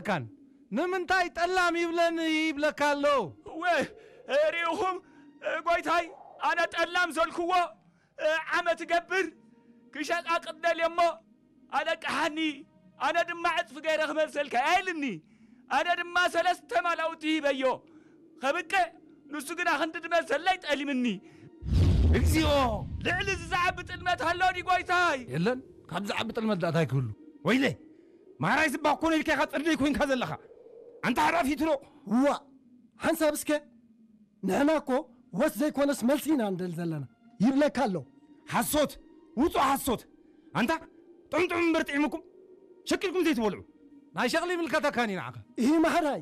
ኣይተረድኣካን። ንምንታይ ጠላም ይብለኒ ይብለካ ኣሎ? እወ፣ ርኢኹም፣ ጎይታይ፣ ኣነ ጠላም ዘልክዎ፣ ዓመት እገብር፣ ክሸቃቅጥ ደልየ እሞ፣ ኣለቅሓኒ፣ ኣነ ድማ ዕጽፊ ገይረ ክመልሰልካ ኢልኒ። ኣነ ድማ ሰለስተ ማላውቲ ሂበዮ። ከብቅዕ፣ ንሱ ግና ክንዲ ድመልሰለይ ጠሊምኒ። እግዚኦ! ልዕሊ እዚ ዝዓቢ ጥልመት ኣሎ ድዩ ጎይታይ? የለን፣ ካብ ዝዓቢ ጥልመት ደኣ እንታይ ክህሉ? ወይለይ! ማራይ ስባ ኮነ ኢልካ ኢኻ ጽርደይ ኮይንካ ዘለኻ። ኣንታ ሓራፊት ዶ? እዋ፣ ሓንሳብ እስከ፣ ንሕና እኮ ወስ ዘይኮነስ መልሲ ኢና ንደሊ ዘለና። ይብለካ ኣሎ። ሓሶት! ውጹእ ሓሶት! ኣንታ ጥዑም ጥዑም እምበር ጥዒሙኩም ሸቂልኩም ዘይትበልዑ። ናይ ሸቕሊ ይምልከተካን እዩ ንዓኻ። እሂ ማሕራይ!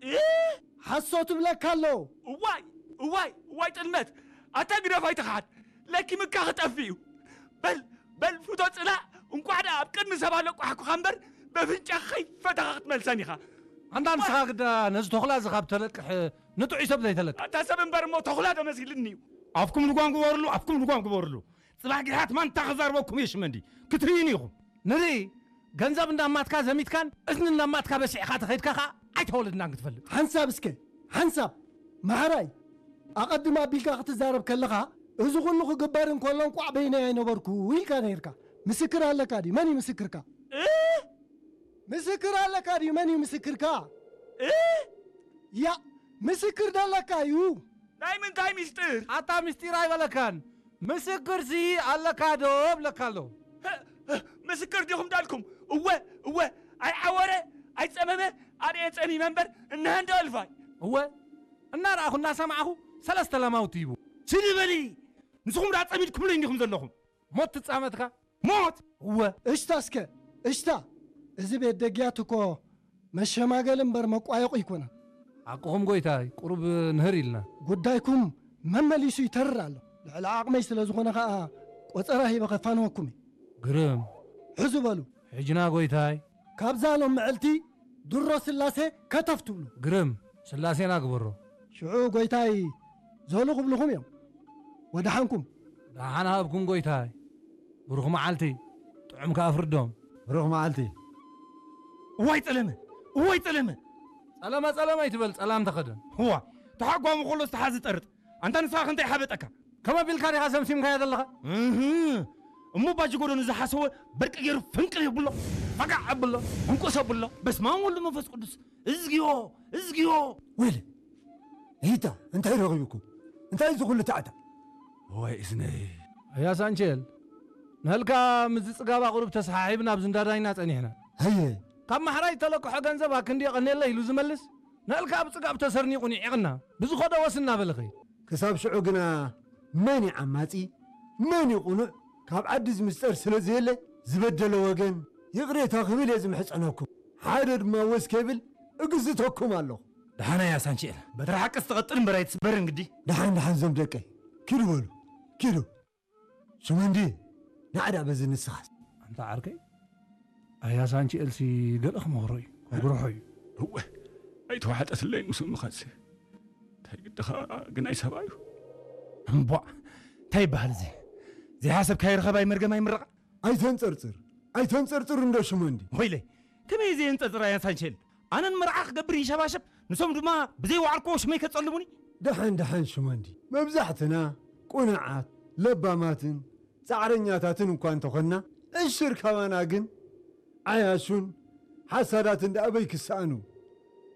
እህ! ሓሶት እብለካ ኣሎ። እዋይ! እዋይ! እዋይ ጥልመት! ኣታ ግደፍ ኣይትኽሓድ! ለኪምካ ክጠፍእ እዩ። በል! በል ፍቶ ጽላእ! እንቋዕ ደኣ ኣብ ቅድሚ ሰብ ኣለቋሕኩኻ እምበር በፍንጫ ከይፈተኻ ክትመልሰን ኢኻ። ኣንታ ንስኻ ግዳ ነዚ ተኹላ እዚ ካብ ተለቅሕ ንጥዑይ ሰብ ዘይተለቅሕ። ኣታ ሰብ እምበር እሞ ተኹላ ዶ መሲልኒ እዩ? ኣፍኩም ልጓም ግበርሉ፣ ኣፍኩም ልጓም ግበርሉ። ጽባሕ ግሓት ማንታ ክዛርበኩም እየ ሽመንዲ። ክትርእዩኒ ኢኹም። ንርኢ፣ ገንዘብ እንዳማትካ ዘሚትካን እዝኒ እንዳማትካ በሲዕካ ተኸይድካ ኸኣ ኣይተወለድናን ክትፈልጥ። ሓንሳብ እስከ፣ ሓንሳብ። ማሕራይ፣ ኣቐድም ኣቢልካ ክትዛረብ ከለኻ፣ እዚ ኩሉ ክግበር እንከሎ እንቋዕ በይነይ ኣይነበርኩ ኢልካ ነይርካ። ምስክር ኣለካ ድዩ? መን እዩ ምስክርካ? እ? ምስክር ኣለካ ድዩ? መን እዩ ምስክርካ? እ? ያ፣ ምስክር ደለካ እዩ። ናይ ምንታይ ምስጢር? ኣታ ምስጢር ኣይበለካን። ምስክርሲ ኣለካ ዶ እብለካ ኣለኹ። ህ፣ ህ፣ ምስክር ዲኹም ዳልኩም? እወ፣ እወ፣ ኣይዓወረ፣ ኣይጸመመ፣ ኣርእየ ጸሚመ እምበር፣ እነሀ እንዶ እልፋይ። እወ፣ እናረኣኹ እናሰማዕኹ ሰለስተ ላማውቲ ሂቡ። ስኒ በሊ! ንስኹም ደኣ ጸሚድኩምለይ እንዲኹም ዘለኹም። ሞት ትጻመትካ? ሞት! እወ። እሽታ እስከ፣ እሽታ! እዚ ቤት ደግያት እኮ መሸማገሊ እምበር መቋየቑ ኣይኮነን። ሓቅኹም ጎይታይ፣ ቁሩብ ንህር ኢልና። ጉዳይኩም መመሊሱ ይተርር ኣሎ። ልዕሊ ዓቕመይ ስለ ዝኾነ ኸኣ ቆጸራ ሂበ ከፋንወኩም እየ። ግርም። ሕዙ በሉ። ሕጅና ጎይታይ። ካብዛ ሎም ምዕልቲ ድሮ ስላሴ ከተፍ ትብሉ። ግርም። ስላሴና ግበሮ። ሽዑ ጎይታይ ዘሉ ክብልኹም እዮም። ወደሓንኩም። ደሓን ሃብኩም ጎይታይ። ብሩኽ መዓልቲ። ጥዑም ከኣ ፍርዶም። ብሩኽ መዓልቲ። እዋይ ጸለመ! እዋይ ጸለመ! ጸለመ ጸለመ ኣይትበል፣ ጸላም ተኸደን። እዋ፣ ተሓጓሙ ከሎ ዝተሓዚ ጠርጥ። ኣንታ ንስኻ ክንታይ ሓበጠካ? ከም ኣቢልካ ዲኻ ሰምሲምካዮ ዘለኻ? እህ፣ እሞ ባጅ ጎደኑ ዝሓሰወ በርቂ ገይሩ ፍንቅል የብሎ። ፈጋዕ ኣብሎ። ዕንቁስ ኣብሎ። በስመ ኣብ ወልድ መንፈስ ቅዱስ። እዝግዮ፣ እዝግዮ። ወይለ፣ እሂታ፣ እንታይ ረኺብኩም? እንታይ እዚ ኩሉ ታዕታ? ወይ እዝነይ። ኣያ ሳንቼል፣ ንህልካ ምስዚ ጽጋብ ኣቑሩብ ተሰሓሒብና ኣብዚ እንዳዳይና ጸኒሕና። ሃየ። ካብ ማሕራይ ተለቅሖ ገንዘብ ኣክንዲ የቐንየለ ኢሉ ዝመልስ፣ ንህልካ ኣብ ጽጋብ ተሰርኒቑ ንዒቕና። ብዝኸዶ ወስ እናበለ ኸይድ። ክሳብ ሽዑ ግና መን እዩ ዓማጺ? መን እዩ ቕኑዕ? ካብ ዓዲ ዝምስጠር ስለ ዘየለ፣ ዝበደለ ወገን ይቕሬታ ክብል እየ ዝምሕጸነኩም። ሓደ ድማ ወስ ከይብል እግዝተኩም ኣለኹ። ደሓን ኣያ ሳንቼል፣ በትሪ ሓቅስ ትቐጥል እምበር ኣይትስበርን ግዲ። ደሓን፣ ደሓን ዞም ደቀይ። ኪዱ በሉ፣ ኪዱ። ሽመንዲ፣ ንዓ ደኣ በዚ ንስኻስ። ኣንታ ዓርከይ፣ ኣያ ሳንቼልሲ ገለ ክመኽሮ እዩ፣ ከጉርሖ እዩ። እወ፣ ኣይተዋሕጠትለይን ምስ እምኻሲ። እንታይ ግድኻ ግን ኣይ ሰብኣዩ። እምቧዕ፣ እንታይ ይበሃል እዚ? ዘይሓሰብካዮ ርኸብ ኣይመርገም ኣይምረቓ። ኣይተንጸርጽር፣ ኣይተንጸርጽር እንዶ ሽመንዲ። ወይለይ፣ ከመይ እየ ዘየንጸርጽር ኣያ ሳንቼል? ኣነ ንመርዓ ክገብር ይንሸባሸብ፣ ንሶም ድማ ብዘይ ዋዕርኮ ሽመይ ከጸልሙኒ። ደሓን፣ ደሓን ሽመንዲ፣ መብዛሕትና ቁኑዓት፣ ለባማትን ጻዕረኛታትን እኳ እንተኾንና፣ ዕሽር ካባና ግን ዓያሹን ሓሳዳትን ደኣ ኣበይ ክሰኣኑ?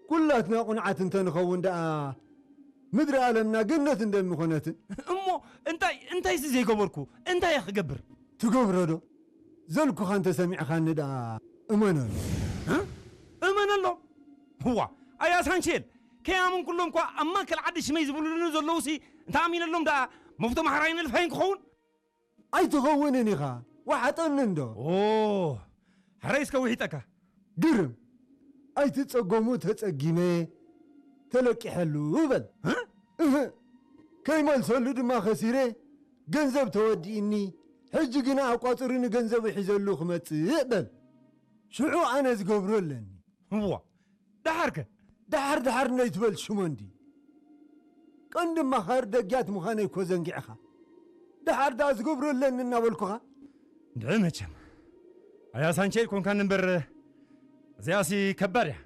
ኩላትና ቁኑዓት እንተንኸውን ደኣ ምድሪ ዓለምና ገነት እንደምኾነትን። እሞ እንታይ፣ እንታይሲ ዘይገበርኩ? እንታይ እየ ክገብር? ትገብሮ ዶ? ዘልኩኻ እንተሰሚዕኻኒ ደኣ እመነሉ። እ? እመነሎም? እዋ፣ ኣያ ሳንቼል፣ ከይኣመንኩሎም እኳ ኣብ ማእከል ዓዲ ሽመይ ዝብሉኒ ዘለዉሲ እንተኣሚነሎም ደኣ መፍቶ ማሕራይ ነልፋይን ክኸውን? ኣይትኸውንን ኢኻ፣ ወሓጠኒ እንዶ። ኦ፣ ሕራይ እስከ ውሒጠካ። ግርም፣ ኣይትጸገሙ ተጸጊመ ተለቂሐሉ በል። እ? እህ፣ ከይመልሰሉ ድማ ከሲረ፣ ገንዘብ ተወዲእኒ፣ ሕጂ ግና ኣቋጽሩኒ ገንዘቡ ሒዘሉ ክመጽእ በል። ሽዑ ኣነ ዝገብሮ ኣለኒ። እዋ፣ ደሓርከ? ደሓር ደሓር ነይትበል ሽሞንዲ። ቀንዲ መኻር ደግያት ምዃነይ እኮ ዘንጊዕኻ። ደሓር ደኣ ዝገብሮ ኣለኒ እናበልኩኻ። እንድዒ መቸም። ኣያ ሳንቼ ኣይኮንካን እምበር፣ እዚኣሲ ከባድ እያ።